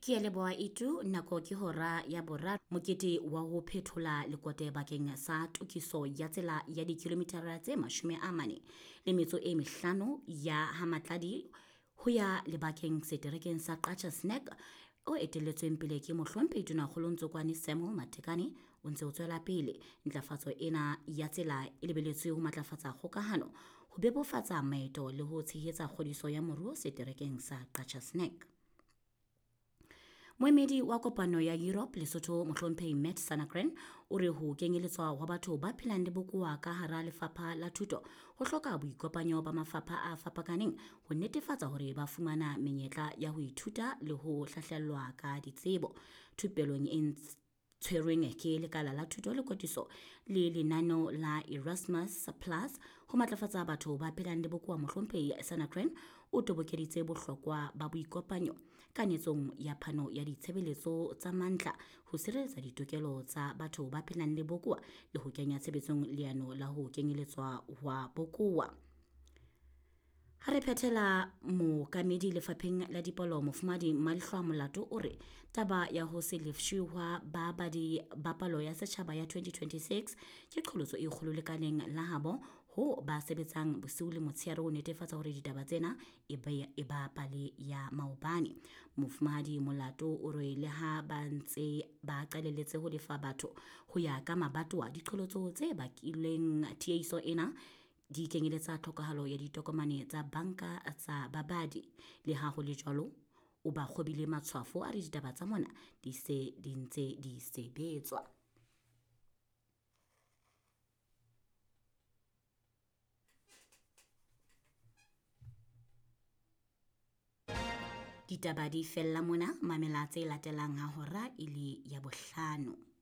Ke a leboha Itu, nako ke hora ya boraro. Mokete wa ho phethola lekote bakeng sa tokiso ya tsela ya dikilomitara tse 45 ya ha Matladi ho ya lebakeng seterekeng sa Qacha's Nek o etelletsweng pele ke Mohlomphehi Tonakgolo Ntsokoane Samuel Matekane o ntse o tswela pele. Ntlafatso ena ya tsela e lebeletswe ho matlafatsa kgokahano, ho bebofatsa maeto le ho tshehetsa kgodiso ya moruo seterekeng sa Qacha's Nek. Moemedi wa kopano ya Europe Lesotho Mohlomphehi Matt Sanagren o re ho kenyeletswa hwa batho ba phelang le bokowa ka hara lefapha la thuto ho hloka boikopanyo ba mafapha a fapakaneng ho netefatsa hore ba fumana menyetla ya ho ithuta le ho hlahlellwa ka ditsebo. Thupelong e tshwerweng ke lekala la thuto le kwetliso le lenaneo la Erasmus Plus ho matlafatsa batho ba phelang le bokowa Mohlomphehi Sanagren o tobokeditse bohlokwa ba boikopanyo kanetsong ya phano ya ditshebeletso tsa mantla ho sireletsa ditokelo tsa batho ba phelang le bokowa le ho kenya tshebetsong leano la ho kenyeletswa hwa bokowa. Ha re phethela mookamedi lefapheng la dipalo Mofumahadi Malehlwa Molato o re taba ya ho se lefshwe hwa babadi ba palo ya setjhaba ya 2026 ke qholotso e kgolo lekaleng la habo ho ba sebetsang bosiu le motshehare ho netefatsa hore ditaba tsena e ba pale ya maobane. Mofumahadi Molato o re le ha ba ntse ba qalelletse ho lefa batho ho ya ka mabatowa, diqholotso tse bakileng tiehiso ena di kenyeletsa tlhokahalo ya ditokomane tsa banka tsa babadi. Le ha ho le jwalo, o ba kgobile matshwafo a re ditaba tsa mona di se di ntse di sebetswa. Ditaba di fella mona, mamela tse latelang ha hora e le ya bohlano.